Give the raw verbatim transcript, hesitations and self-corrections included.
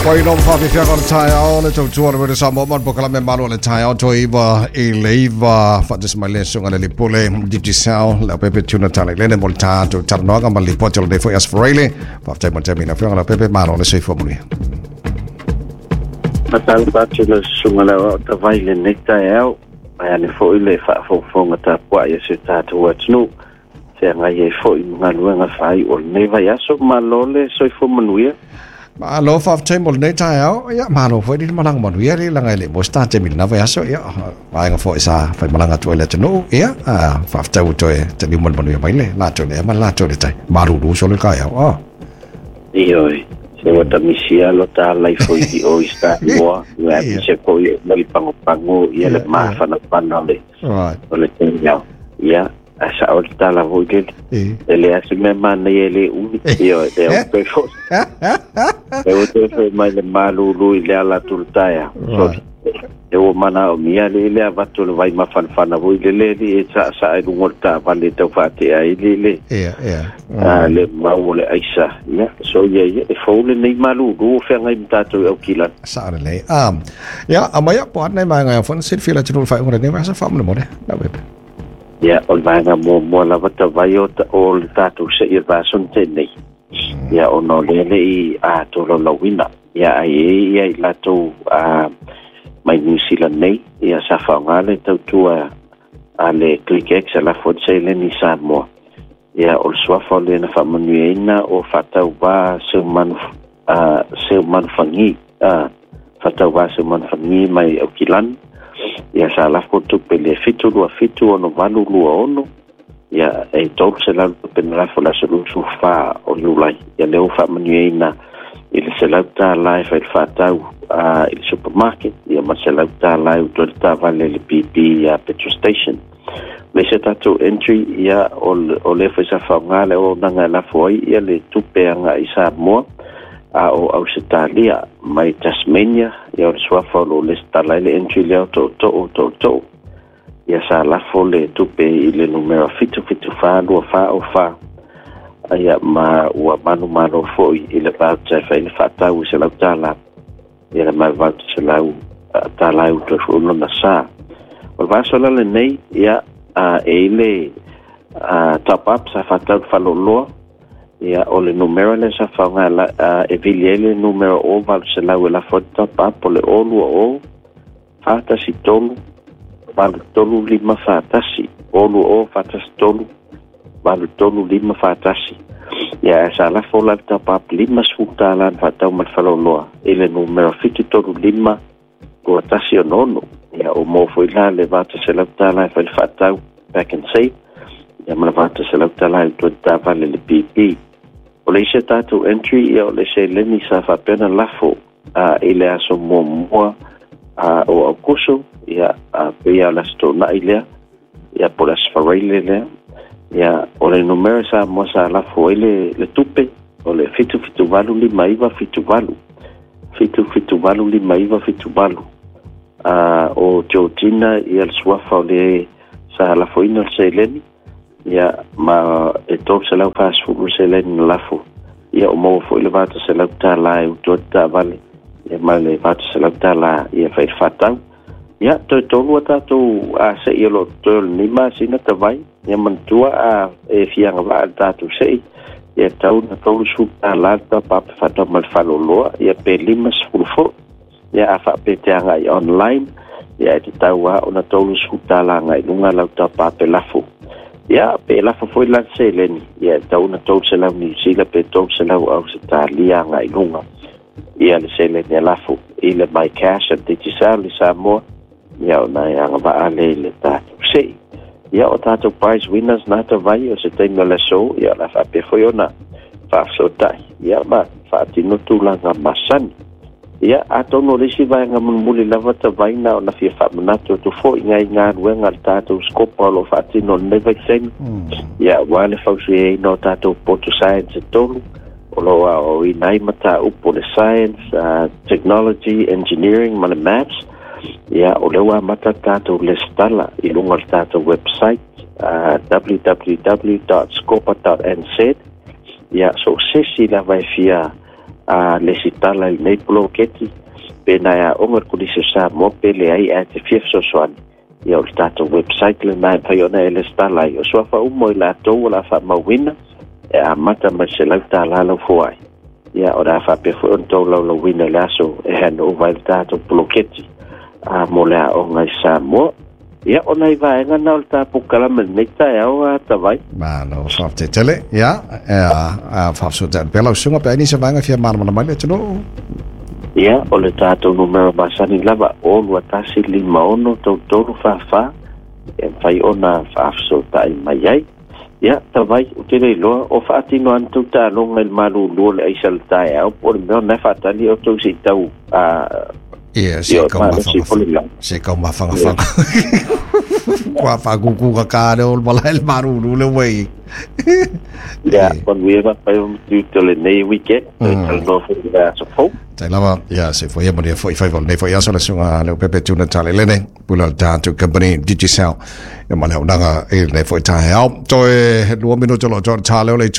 Pai no whawhiwhia o le taeao le tautua le wera Samoa man pokalame malo le taeao toi iwa i leiva whatis mai le sunga le lipule Digicel le pepe tuna tale lene mo le tātou taranoaga ma le lipoti o le nefo i asfaraile whaftai mo te mina whianga le pepe malo le soifua manuia. Matalo patu le sunga le o tawai le nei taeao mai ane fo i le whaafonga tāpua i se tātou atunu te ngai e fo i ngaluenga whai o le nei vai aso malo le soifua manuia. Malo whaftai mo le nei taeao, ia malo foi ni malanga manuia le langa le mo sta te mil na vai aso ia vaenga foi sa fai malanga tu le tunu ia whaftai o toe te ni mo manuia mai le la toe le ma la toe le tai maruru so le kai au. Ioi se wata misia lo ta lai foi i o ista moa ia se ko i le pango pango ia le mafana pana le o le tenia ia asa o tala voi le ele ase me mana ele umi io e o pe fo e o te fo mai le malulu i le ala tultaia so e o mana o mia le le avatu le vai mafanafana voi le le e sa sa e lungo ta vale tau fatea i le le ia ia a le mau le aisa ia so ia ia e fo le nei malulu o whangai mtatou au kila sa le um ia amaya po nei mai ngai fon sit fila tulu fa ngore nei sa fa mo mo na web. Ia, o le vaega muamua lava tavai o o le tātou se i vason tēnei. Ia, o no lele i a tōlaulauina. Ia, ai e ia i latou a mai New Zealand nei. Ia, sa whaonga le tautua a le ClickX a la fote seleni Samoa. Ia, o le suafa o le na whaamanuiaina o whatau wā seu manu, uh, seu manuwhangi. Uh, whatau wā seu manuwhangi mai Aukilani. Ia sa lafo tupe le fitu lua fitu ono valu lua ono ia e tolu se lau tupe na lafo la se lusu wha o Iulai. Ia leo whaamanuiaina i le se lau tā lai whai whatau uh, i le supermarket ia ma se lau tā lai u toi tā vale le B P ia petrol station. Le se tātou entry ia o, o le whai sa whaonga le o nanga lafo ai ia le tupe anga i Samoa a o Australia mai Tasmania ia o le suafa o lo le stala le entry leo to to to to ia sa lafo le tupe i le numero fitu fitu wha lua wha o wha ia ma ua manu manu foi i le voucher whai le whatau i se lau tāla ia le mai voucher se lau tāla u toi whuno na sa o le vasola le nei ia e i le top up sa whatau whaloloa ia o le numero le sa whaonga la, uh, e vili ele numero o valu se lau e la fota pa po le o lua o whatasi tolu valu tolu lima whatasi o lua o whatasi tolu valu tolu lima whatasi ia sa la fola ta pa lima sfuta lan whatau ma whaloloa e le numero fitu tolu lima kua tasi o nono ia o mō foi la le vata se lau tāla e whai whatau back and save ia ma le vata se lau tāla e tua tā vale le B P. O le ise tātou entry ia o le se leni sa whapena lafo uh, i le aso muamua uh, o Aukuso ia uh, pia o le aso tōnai lea ia po le aso wharaile lea ia o le numero sa mua sa lafo ai le, le tupe o le fitu fitu valu lima iwa fitu valu fitu fitu valu lima iwa fitu valu uh, o Georgina ia le suafa o le sa lafoina o le seleni ia ma e tolu se lau whasfulu se leni na lafo ia o maua foi le vata se lau tāla e utua tā vale ia ma le vata se lau tāla ia whai whatau ia toi tolu a tātou a se ia lo toi o le nima sina ta vai ia mantua a e fianga waa tātou se ia tau na tolu su tāla tā pape whatau ma le whaloloa ia pe lima sefulu fo ia a whape te anga i online ia e te tau a ona tolu su tāla ngai lunga lau tā pape lafo. Ia, pe lafo foi lan seleni. Ia, tau na tolu se lau New Zealand, pe tolu se lau Australia ngai lunga. Ia, le seleni a lafo. I le my cash a Digicel le Samoa. Ia, o nai anga vaale i le tātou sei. Ia, o tātou prize winners nā ta vai o se taimi o le so. Ia, la whape foi ona whaafsotai. Ia, ma whaatino tūlanga masani. Ia, atono le isi vaenga munmuli lava ta vaina o na fia whaamanatu tu fo i ngai ngā ruenga le tātou skopa o lo whaatino le nei taimi. Ia, wā le fausu e ina o tātou poto science e tolu o lo a o inai mata upo le science, uh, technology, engineering, ma le maths. Ia, o lewa mata tātou le stala i lunga le tātou website uh, w w w dot scopa dot n z. Ia, so sesi lava e fia a lesitala i lenei poloketi pe na e aoga le Kolisi o Samoa pe leai ae te fia fesoasoani. Ia o le tatou website lenā e mafai ona e lesitala ai. O suafa uma o i latou o le a faamauina e amata mai le selau tālā lau foai. Ia o le a faapea foi ona tolaulauina i le aso e handover ai le tatou poloketi a mo le aoga i Samoa. Ia o nai vaega na o le tapukalama i lenei taeao a Tavai. Malo faafetai tele. Ia, a faafetai pea lau susuga pe ai nisi o vaega e fia malamalama ai le atunuu. Ia, o le tatou numera masani lava o lua tasi lima ono tolu tolu fa fa e mafai ona faafesootai mai ai. Ia, Tavai, ou te le iloa o faatino ana tou taaloga i le malulu o le aisa o le taeao po o le mea o lena e faatali outou se i tau a Ia, se ia kau malosi po le lau. Se kau mawhangawhanga. Kua whakukūka kāre o le malae le maruru le wei. Ia, manuia mapai o matu o lenei weekend. Mm. Talanoa foi i le aso fou. Tai lava, ia, se foi manuia foi faiva o lenei foi aso le susuga Leaupepe Tuna Talelene, pule o le tatou company Digicel. Ia ma le auaunaga i lenei foi taeao. Toe lua minutu o lo o toa le tā leo le itu.